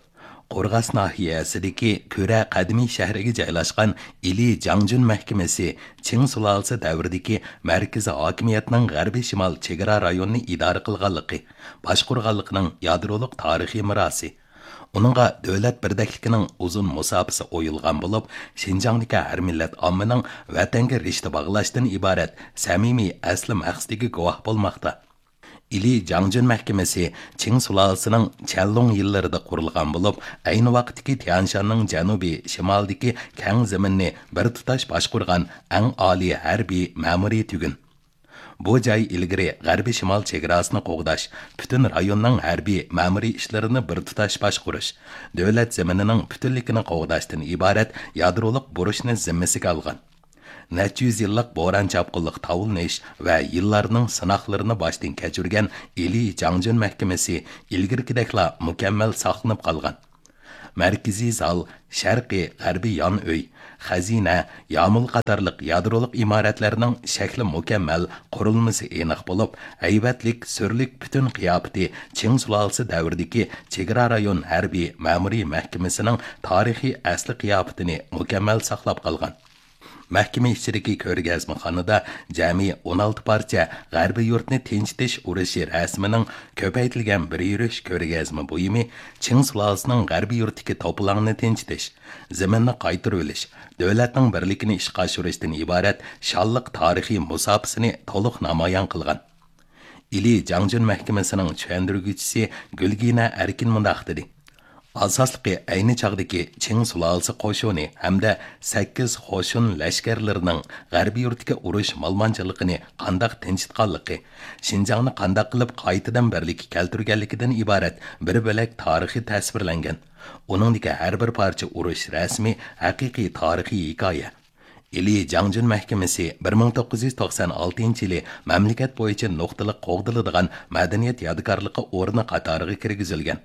قورغاس ناھىيەسىدىكى كۈرە قەدىمىي شەھىرىگە جايلاشقان ئىلى جاڭجۈن مەھكىمىسى چىڭ سۇلالىسى دەۋرىدىكى مەركىزىي ھاكىمىيەتنىڭ غەربىي شىمال چېگرا رايونىنى ئىدارە قىلغانلىقى، باشقۇرغانلىقىنىڭ يادرولۇق تارىخىي مىراسى، ئۇنىڭغا دۆلەت بىردەكلىكىنىڭ ئۇزۇن مۇساپىسى ئويۇلغان بولۇپ، شىنجاڭدىكى ھەر مىللەت ئاممىنىڭ ۋەتەنگە رىشتە باغلاشتىن ئىبارەت سەمىمىي ئەسلى مەقسىتىگە گۇۋاھ بولماقتا. ئىلى جاڭجۈن مەھكىمىسى چىڭ سۇلالىسىنىڭ چيەنلۇڭ يىللىرىدا قۇرۇلغان بولۇپ، ئەينى ۋاقىتتىكى تيەنشاننىڭ جەنۇبىي شىمالىدىكى كەڭ زېمىننى بىر تۇتاش باشقۇرغان ئەڭ ئالىي ھەربىي مەمۇرىي تۈگۈن. بۇ جاي ئىلگىرى غەربىي شىمال چېگراسىنى قوغداش، پۈتۈن رايوننىڭ ھەربىي مەمۇرىي ئىشلىرىنى بىر تۇتاش باشقۇرۇش، دۆلەت زېمىنىنىڭ پۈتۈنلۈكىنى قوغداشتىن ئىبارەت يادرولۇق بۇرچنى زىممىسىگە ئالغان. نەچچە يۈز يىللىق بوران-چاپقۇنلۇق تاۋلىنىش ۋە يىللارنىڭ سىناقلىرىنى باشتىن كەچۈرگەن ئىلى جاڭجۈن مەھكىمىسى ئىلگىرىكىدەكلا مۇكەممەل ساقلىنىپ قالغان. مەركىزىي زال، شەرقىي، غەربىي يان ئۆي، خەزىنە، يامۇل قاتارلىق يادرولۇق ئىمارەتلەرنىڭ شەكلى مۇكەممەل، قۇرۇلمىسى ئېنىق بولۇپ، ھەيۋەتلىك، سۈرلۈك پۈتۈن قىياپىتى چىڭ سۇلالىسى دەۋرىدىكى چېگرا رايون ھەربىي مەمۇرىي مەھكىمىسىنىڭ تارىخىي ئەسلى قىياپىتىنى مۇكەممەل ساقلاپ قالغان. مەھكىمە ئىچىدىكى كۆرگەزمىخانىدا جەمئىي ئون ئالتە پارچە غەربىي يۇرتنى تىنچىتىش ئۇرۇشى رەسىمىنىڭ كۆپەيتىلگەن بىر يۈرۈش كۆرگەزمە بۇيۇمى، چىڭ سۇلالىسىنىڭ غەربىي يۇرتتىكى توپىلاڭنى تىنچىتىش، زېمىننى قايتۇرۇۋېلىش، دۆلەتنىڭ بىرلىكىنى ئىشقا ئاشۇرۇشتىن ئىبارەت شانلىق تارىخىي مۇساپىسىنى تولۇق نامايان قىلغان. ئىلى جاڭجۈن مەھكىمىسىنىڭ چۈشەندۈرگۈچىسى گۈلگىنە ئەركىن مۇنداق دېدى: ئاساسلىقى ئەينى چاغدىكى چىڭ سۇلالىسى قوشۇنى ھەمدە سەككىز قوشۇن لەشكەرلىرىنىڭ غەربىي يۇرتتىكى ئۇرۇش مالىمانچىلىقىنى قانداق تىنچىتقانلىقى، شىنجاڭنى قانداق قىلىپ قايتىدىن بىرلىككە كەلتۈرگەنلىكىدىن ئىبارەت بىر بۆلەك تارىخى تەسۋىرلەنگەن. ئۇنىڭدىكى ھەر بىر پارچە ئۇرۇش رەسىمى ھەقىقىي تارىخىي ھېكايە. ئىلى جاڭجۈن مەھكىمىسى بىر مىڭ توققۇز يۈز توقسان ئالتىنچى يىلى مەملىكەت بويىچە نۇقتىلىق قوغدىلىدىغان مەدەنىيەت يادىكارلىقى ئورنى قاتارىغا كىرگۈزۈلگەن.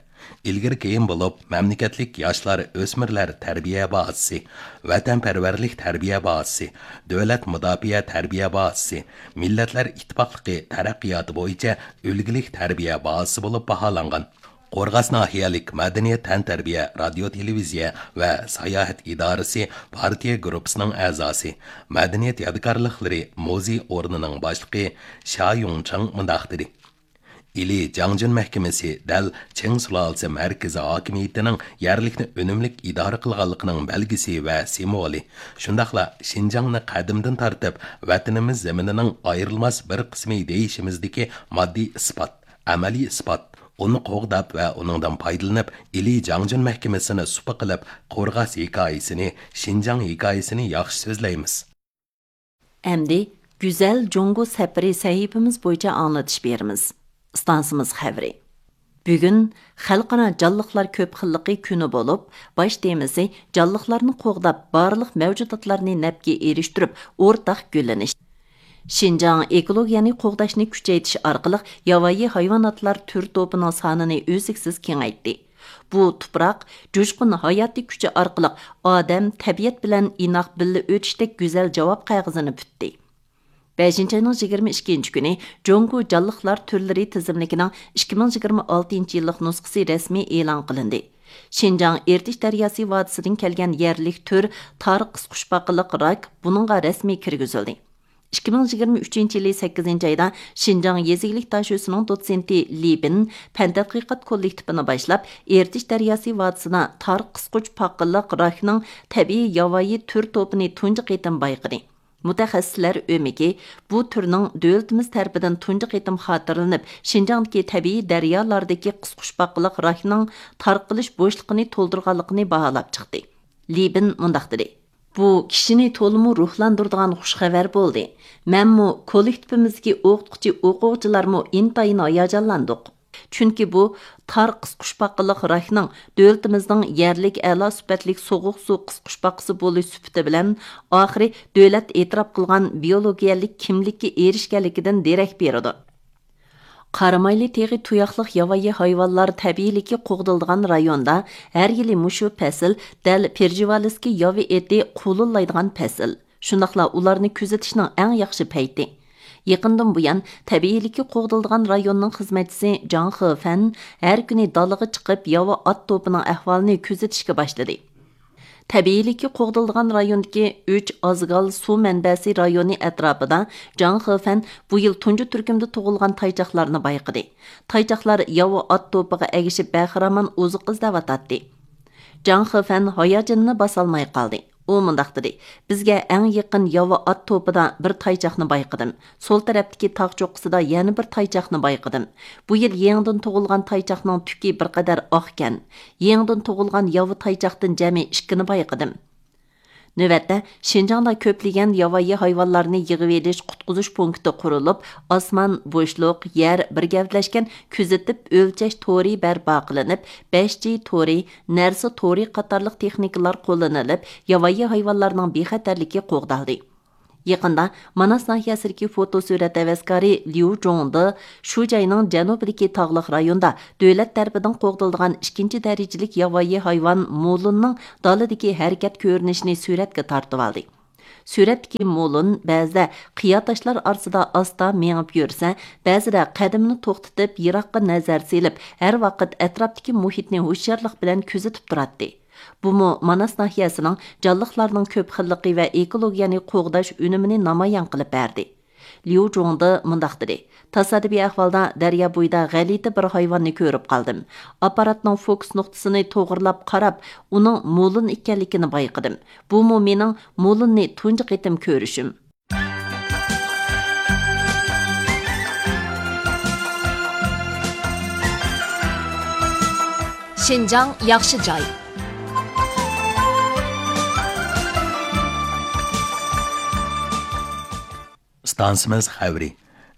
ئىلگىرى كېيىن بولۇپ، مەملىكەتلىك ياشلار، ئۆسمۈرلەر تەربىيە بازىسى، ۋەتەنپەرۋەرلىك تەربىيە بازىسى، دۆلەت مۇداپىئە تەربىيە بازىسى، مىللەتلەر ئىتتىپاقلىقى تەرەققىياتى بويىچە ئۈلگىلىك تەربىيە بازىسى بولۇپ باھالانغان. قورغاس ناھىيەلىك مەدەنىيەت تەنتەربىيە، رادىيو تېلېۋىزىيە ۋە ساياھەت ئىدارىسى پارتىيە گۇرۇپپىسىنىڭ ئەزاسى، مەدەنىيەت يادىكارلىقلىرى مۇزېي ئورنىنىڭ باشلىقى شيا يۇڭچېڭ مۇنداق دېدى: ئىلى جاڭجۈن مەھكىمىسى دەل چىڭ سۇلالىسى مەركىزىي ھاكىمىيىتىنىڭ يەرلىكنى ئۈنۈملۈك ئىدارە قىلغانلىقىنىڭ بەلگىسى ۋە سىمۋولى، شۇنداقلا شىنجاڭنى قەدىمدىن تارتىپ ۋەتىنىمىز زېمىنىنىڭ ئايرىلماس بىر قىسمى دېيىشىمىزدىكى ماددىي ئىسپات. ئەمەلىي ئىسپات، ئۇنى قوغداپ ۋە ئۇنىڭدىن پايدىلىنىپ، ئىلى جاڭجۈن مەھكىمىسىنى سۇپا قىلىپ، قورغاس ھېكايىسىنى، شىنجاڭ ھېكايىسىنى ياخشى سۆزلەيمىز. ئەمدى گۈزەل جۇڭگو سەپىرى سەھىپىمىز بويىچە ئاڭلىتىش بېرىمىز. ئىستانسىمىز خەۋىرى. بۈگۈن خەلقئارا جانلىقلار كۆپ خىللىقى كۈنى بولۇپ، باش تېمىسى جانلىقلارنى قوغداپ، بارلىق مەۋجۇداتلارنى نەپكە ئېرىشتۈرۈپ، ئورتاق گۈللىنىش. شىنجاڭ ئېكولوگىيەنى قوغداشنى كۈچەيتىش ئارقىلىق ياۋايى ھايۋاناتلار تۈر توپىنىڭ سانىنى ئۈزلۈكسىز كېڭەيتتى. بۇ تۇپراق جۇشقۇن ھاياتىي كۈچى ئارقىلىق ئادەم، تەبىئەت بىلەن ئىناق بىللە ئۆتۈشتەك گۈزەل جاۋاب قەغىزىنى پۈتتى. بەشىنچى ئاينىڭ يىگىرمە ئىككىنچى كۈنى جۇڭگو جانلىقلار تۈرلىرى تىزىملىكىنىڭ ئىككى مىڭ يىگىرمە ئالتىنچى يىللىق نۇسخىسى رەسمىي ئېلان قىلىندى. شىنجاڭ ئېرتىش دەرياسى ۋادىسىدىن كەلگەن يەرلىك تۈر تار قىسقۇچپاقىلىق راك بۇنىڭغا رەسمىي كىرگۈزۈلدى. ئىككى مىڭ يىگىرمە ئۈچىنچى يىلى سەككىزىنچى ئايدا شىنجاڭ يېزا ئىگىلىك داشۆسىنىڭ دوتسېنتى لى بىن پەن تەتقىقات كوللېكتىپىنى باشلاپ، ئېرتىش دەرياسى ۋادىسىدا تار قىسقۇچپاقىلىق راكنىڭ تەبىئىي ياۋايى تۈر توپىنى تۇنجى قېتىم بايقىدى. مۇتەخەسسىسلەر ئۆمىكى بۇ تۈرنىڭ دۆلىتىمىز تەرىپىدىن تۇنجى قېتىم خاتىرىلىنىپ، شىنجاڭدىكى تەبىئىي دەريالاردىكى قىسقۇچپاقىلىق راكنىڭ تارقىلىش بوشلۇقىنى تولدۇرغانلىقىنى باھالاپ چىقتى. لى بىن مۇنداق دېدى: بۇ كىشىنى تولىمۇ روھلاندۇرىدىغان خۇش خەۋەر بولدى. مەنمۇ، كوللېكتىپىمىزدىكى ئوقۇتقۇچى، ئوقۇغۇچىلارمۇ ئىنتايىن ھاياجانلاندۇق. چۈنكى بۇ تار قىسقۇچپاقىلىق راكنىڭ دۆلىتىمىزنىڭ يەرلىك ئەلا سۈپەتلىك سوغۇق سۇ قىسقۇچپاقىسى بولۇش سۈپىتى بىلەن ئاخىرى دۆلەت ئېتىراپ قىلغان بىيولوگىيەلىك كىملىككە ئېرىشكەنلىكىدىن دېرەك بېرىدۇ. قارامايلى تېغى تۇياقلىق ياۋايى ھايۋانلار تەبىئىيلىكى قوغدىلىدىغان رايوندا ھەر يىلى مۇشۇ پەسىل دەل پېرژىۋالىسكىي ياۋا ئېتى قۇلۇللايدىغان پەسىل. شۇنداقلا ئۇلارنى كۆزىتىشنىڭ ئەڭ ياخشى پەيتى. يېقىندىن بۇيان، تەبىئىيلىكى قوغدىلىدىغان رايوننىڭ خىزمەتچىسى جاڭ خېفەن ھەر كۈنى دالىغا چىقىپ، ياۋا ئات توپىنىڭ ئەھۋالىنى كۆزىتىشكە باشلىدى. تەبىئىيلىكى قوغدىلىدىغان رايوندىكى ئۈچ ئازگال سۇ مەنبەسى رايونى ئەتراپىدا جاڭ خېفەن بۇ يىل تۇنجى تۈركۈمدە تۇغۇلغان تايچاقلارنى بايقىدى. تايچاقلار ياۋا ئات توپىغا ئەگىشىپ، بەخىرامان ئوزۇق ئىزدەۋاتاتتى. جاڭ خېفەن ھاياجىنىنى باسالماي قالدى. ئۇ مۇنداق دېدى: بىزگە ئەڭ يېقىن ياۋا ئات توپىدا بىر تايچاقنى بايقىدىم. سول تەرەپتىكى تاغ چوققىسىدا يەنە بىر تايچاقنى بايقىدىم. بۇ يىل يېڭىدىن تۇغۇلغان تايچاقنىڭ تۈكى بىر قەدەر ئاقكەن. يېڭىدىن تۇغۇلغان ياۋا تايچاقتىن جەمئىي ئىككىنى بايقىدىم. نۆۋەتتە، شىنجاڭدا كۆپلىگەن ياۋايى ھايۋانلارنى يىغىۋېلىش، قۇتقۇزۇش پونكىتى قۇرۇلۇپ، ئاسمان، بوشلۇق، يەر بىر گەۋدىلەشكەن كۆزىتىپ ئۆلچەش تورى بەرپا قىلىنىپ، بەش جى تورى، نەرسە تورى قاتارلىق تېخنىكىلار قوللىنىلىپ، ياۋايى ھايۋانلارنىڭ بىخەتەرلىكى قوغدالدى. يېقىندا ماناس ناھىيەسىدىكى فوتو سۈرەت ھەۋەسكارى ليۇ جۇڭدې شۇ جاينىڭ جەنۇبىدىكى تاغلىق رايوندا دۆلەت تەرىپىدىن قوغدىلىدىغان ئىككىنچى دەرىجىلىك ياۋايى ھايۋان مۇلۇننىڭ دالىدىكى ھەرىكەت كۆرۈنۈشىنى سۈرەتكە تارتىۋالدى. سۈرەتتىكى مۇلۇن بەزىدە قىيا تاشلار ئارىسىدا ئاستا مېڭىپ يۈرسە، بەزىدە قەدىمىنى توختىتىپ، يىراققا نەزەر سېلىپ، ھەر ۋاقىت ئەتراپتىكى مۇھىتنى ھوشيارلىق بىلەن كۆزىتىپ تۇراتتى. بۇمۇ ماناس ناھىيەسىنىڭ جانلىقلارنىڭ كۆپ خىللىقى ۋە ئېكولوگىيەنى قوغداش ئۈنۈمىنى نامايان قىلىپ بەردى. ليۇ جۇڭدې مۇنداق دېدى: تاسادىپىي ئەھۋالدا دەريا بويىدا غەلىتە بىر ھايۋاننى كۆرۈپ قالدىم. ئاپپاراتنىڭ فوكۇس نۇقتىسىنى توغرىلاپ قاراپ، ئۇنىڭ مۇلۇن ئىكەنلىكىنى بايقىدىم. بۇمۇ مېنىڭ مۇلۇننى تۇنجى قېتىم كۆرۈشۈم. شىنجاڭ ياخشى جاي. ئىستانسىمىز خەۋىرى.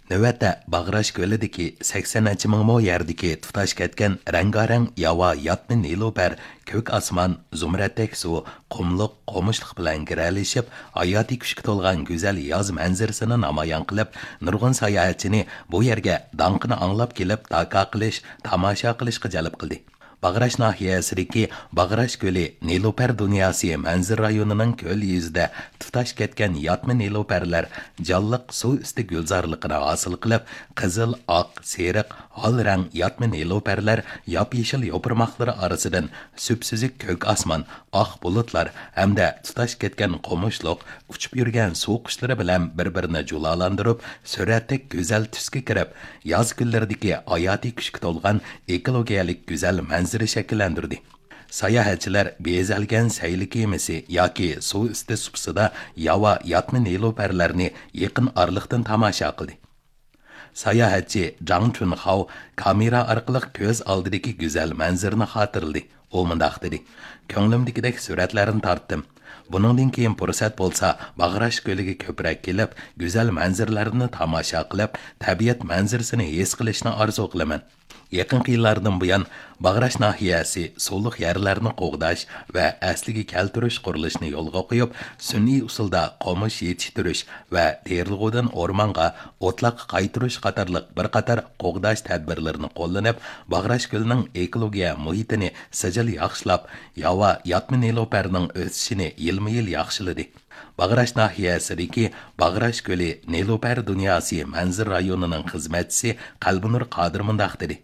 نۆۋەتتە باغراش كۆلىدىكى سەكسەن نەچچە مىڭ مو يەردىكى تۇتاش كەتكەن رەڭگارەڭ ياۋا ياتمى نېلۇپەر، كۆك ئاسمان، زۇمرەتتەك سۇ، قۇملۇق، قومۇشلۇق بىلەن گىرەلىشىپ، ھاياتىي كۈچكە تولغان گۈزەل ياز مەنزىرىسىنى نامايان قىلىپ، نۇرغۇن ساياھەتچىنى بۇ يەرگە داڭقىنى ئاڭلاپ كېلىپ، داكا قىلىش، تاماشا قىلىشقا جەلپ قىلدى. باغراش ناھىيەسىدىكى باغراش كۆلى نېلۇپەر دۇنياسى مەنزىرە رايونىنىڭ كۆل يۈزىدە تۇتاش كەتكەن ياتمى نېلۇپەرلەر جانلىق سۇ ئۈستى گۈلزارلىقىنى ھاسىل قىلىپ، قىزىل، ئاق، سېرىق، ھال رەڭ ياتمى نېلۇپەرلەر ياپيېشىل يوپۇرماقلىرى ئارىسىدىن سۈپسۈزۈك كۆك ئاسمان، ئاق بۇلۇتلار ھەمدە تۇتاش كەتكەن قومۇشلۇق، ئۇچۇپ يۈرگەن سۇ قۇشلىرى بىلەن بىر-بىرىنى جۇلالاندۇرۇپ، سۈرەتتەك گۈزەل تۈسكە كىرىپ، ياز كۈنلىرىدىكى ھاياتىي كۈچكە تولغان ئېكولوگىيەلىك گۈزەل مەنزىرە شەكىللەندۈردى. ساياھەتچىلەر بېزەلگەن سەيلە كېمىسى ياكى سۇ ئۈستى سۇپىسىدا ياۋا ياتمى نېلۇپەرلەرنى يېقىن ئارىلىقتىن تاماشا قىلدى. ساياھەتچى جاڭ چۈنخاۋ كامېرا ئارقىلىق كۆز ئالدىدىكى گۈزەل مەنزىرىنى خاتىرىلىدى. ئۇ مۇنداق دېدى: كۆڭلۈمدىكىدەك سۈرەتلەرنى تارتتىم. بۇنىڭدىن كېيىن پۇرسەت بولسا، باغراش كۆلىگە كۆپرەك كېلىپ، گۈزەل مەنزىرىلەرنى تاماشا قىلىپ، تەبىئەت مەنزىرىسىنى ھېس قىلىشنى ئارزۇ قىلىمەن. يېقىنقى يىللاردىن بۇيان، باغراش ناھىيەسى سۇلۇق يەرلەرنى قوغداش ۋە ئەسلىگە كەلتۈرۈش قۇرۇلۇشىنى يولغا قويۇپ، سۈنئىي ئۇسۇلدا قومۇش يېتىشتۈرۈش ۋە تېرىلغۇدىن ئورمانغا، ئوتلاققا قايتۇرۇش قاتارلىق بىر قاتار قوغداش تەدبىرلىرىنى قوللىنىپ، باغراش كۆلىنىڭ ئېكولوگىيە مۇھىتىنى سىجىل ياخشىلاپ، ياۋا ياتمى نېلۇپەرنىڭ ئۆسۈشىنى يىلمۇ يىل ياخشىلىدى. باغراش ناھىيەسىدىكى باغراش كۆلى نېلۇپەر دۇنياسى مەنزىرە رايونىنىڭ خىزمەتچىسى قەلبىنۇر قادىر مۇنداق دېدى: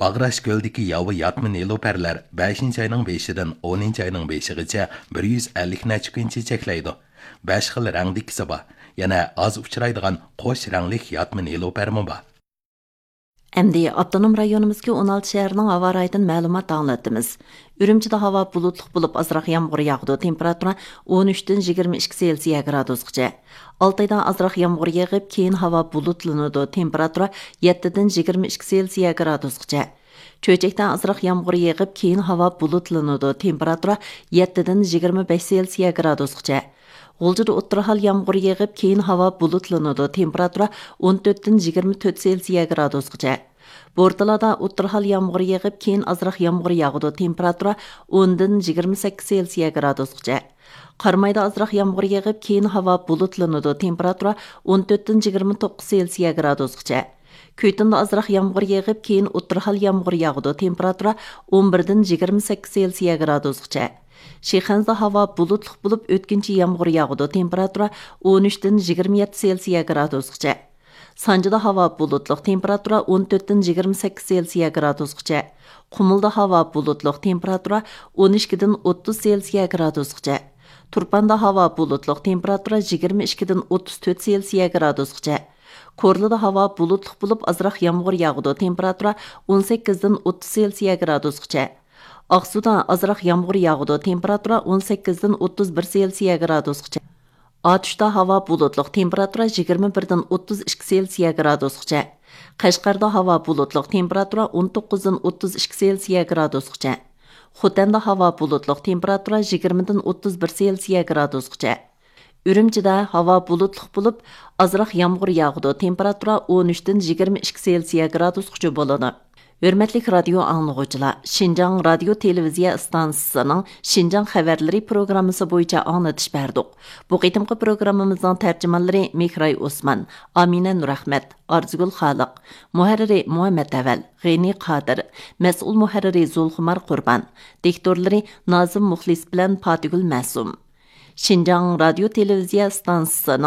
باغراش كۆلىدىكى ياۋا ياتمى نېلۇپەرلەر بەشىنچى ئاينىڭ بېشىدىن ئونىنچى ئاينىڭ بېشىغىچە بىر يۈز ئەللىك نەچچە كۈن چېچەكلەيدۇ. بەش خىل رەڭدىكىسى بار. يەنە ئاز ئۇچرايدىغان قوش رەڭلىك ياتمى نېلۇپەرمۇ بار. ئەمدى ئاپتونوم رايونىمىزدىكى ئون ئالتە شەھەرنىڭ ھاۋا رايىدىن مەلۇمات ئاڭلىتىمىز. ئۈرۈمچىدە ھاۋا بۇلۇتلۇق بولۇپ، ئازراق يامغۇر ياغىدۇ، تېمپېراتۇرا ئون ئۈچتىن يىگىرمە ئىككى سېلسىيە گرادۇسقىچە. ئالتايدا ئازراق يامغۇر يېغىپ، كېيىن ھاۋا بۇلۇتلىنىدۇ، تېمپېراتۇرا يەتتىدىن يىگىرمە ئىككى سېلسىيە گرادۇسقىچە. چۆچەكتە ئازراق يامغۇر يېغىپ، كېيىن ھاۋا بۇلۇتلىنىدۇ، تېمپېراتۇرا يەتتىدىن يىگىرمە بەش سېلسىيە گرادۇسقىچە. غۇلجىدا ئوتتۇرا ھال يامغۇر يېغىپ، كېيىن ھاۋا بۇلۇتلىنىدۇ، تېمپېراتۇرا ئون تۆتتىن يىگىرمە تۆت سېلسىيە گرادۇسقىچە. بورتالادا ئوتتۇرا ھال يامغۇر يېغىپ، كېيىن ئازراق يامغۇر ياغىدۇ، تېمپېراتۇرا ئوندىن يىگىرمە سەككىز سېلسىيە گرادۇسقىچە. قارامايدا ئازراق يامغۇر يېغىپ، كېيىن ھاۋا بۇلۇتلىنىدۇ، تېمپېراتۇرا ئون تۆتتىن يىگىرمە توققۇز سېلسىيە گرادۇسقىچە. كۈيتۇندا ئازراق يامغۇر يېغىپ، كېيىن ئوتتۇرا ھال يامغۇر ياغىدۇ، تېمپېراتۇرا ئون بىردىن يىگىرمە سەككىز سېلسىيە گرادۇسقىچە. شىخەنزىدە ھاۋا بۇلۇتلۇق بولۇپ، ئۆتكۈنچى يامغۇر ياغىدۇ، تېمپېراتۇرا ئون ئۈچتىن يىگىرمە يەتتە سېلسىيە گرادۇسقىچە. سانجىدا ھاۋا بۇلۇتلۇق، تېمپېراتۇرا ئون تۆتتىن يىگىرمە سەككىز سېلسىيە گرادۇسقىچە. قۇمۇلدا ھاۋا بۇلۇتلۇق، تېمپېراتۇرا ئون ئىككىدىن ئوتتۇز سېلسىيە گرادۇسقىچە. تۇرپاندا ھاۋا بۇلۇتلۇق، تېمپېراتۇرا يىگىرمە ئىككىدىن ئوتتۇز تۆت سېلسىيە گرادۇسقىچە. كورلىدا ھاۋا بۇلۇتلۇق بولۇپ، ئازراق يامغۇر ياغىدۇ، تېمپېراتۇرا ئون سەككىزدىن ئوتتۇز سېلسىيە گرادۇسقىچە. ئاقسۇدا ئازراق يامغۇر ياغىدۇ، تېمپېراتۇرا ئون سەككىزدىن ئوتتۇز بىر سېلسىيە گرادۇسقىچە. ئاتۇشتا ھاۋا بۇلۇتلۇق، تېمپېراتۇرا يىگىرمە بىردىن ئوتتۇز ئىككى سېلسىيە گرادۇسقىچە. قەشقەردە ھاۋا بۇلۇتلۇق، تېمپېراتۇرا ئون توققۇزدىن ئوتتۇز ئىككى سېلسىيە گرادۇسقىچە. خوتەندە ھاۋا بۇلۇتلۇق، تېمپېراتۇرا يىگىرمىدىن ئوتتۇز بىر سېلسىيە گرادۇسقىچە. ئۈرۈمچىدە ھاۋا بۇلۇتلۇق بولۇپ، ئازراق يامغۇر ياغىدۇ، تېمپېراتۇرا ئون ئۈچتىن يىگىرمە ئىككى سېلسىيە گرادۇسقىچە بولىدۇ. ھۆرمەتلىك رادىيو ئاڭلىغۇچىلار، شىنجاڭ رادىيو تېلېۋىزىيە ئىستانسىسىنىڭ شىنجاڭ خەۋەرلىرى پروگراممىسى بويىچە ئاڭلىتىش بەردۇق. بۇ قېتىمقى پروگراممىمىزنىڭ تەرجىمانلىرى مېھراي ئوسمان، ئامىنە نۇرئەخمەت، ئارزۇگۈل خالىق، مۇھەررىرى مۇھەممەت ئەۋەل، غېنى قادىر، مەسئۇل مۇھەررىرى زۇلخۇمار قۇربان، دىكتورلىرى نازىم مۇخلىس بىلەن پاتىگۈل مەسۇم. شىنجاڭ رادىيو تېلېۋىزىيە ئىستانسىسىنىڭ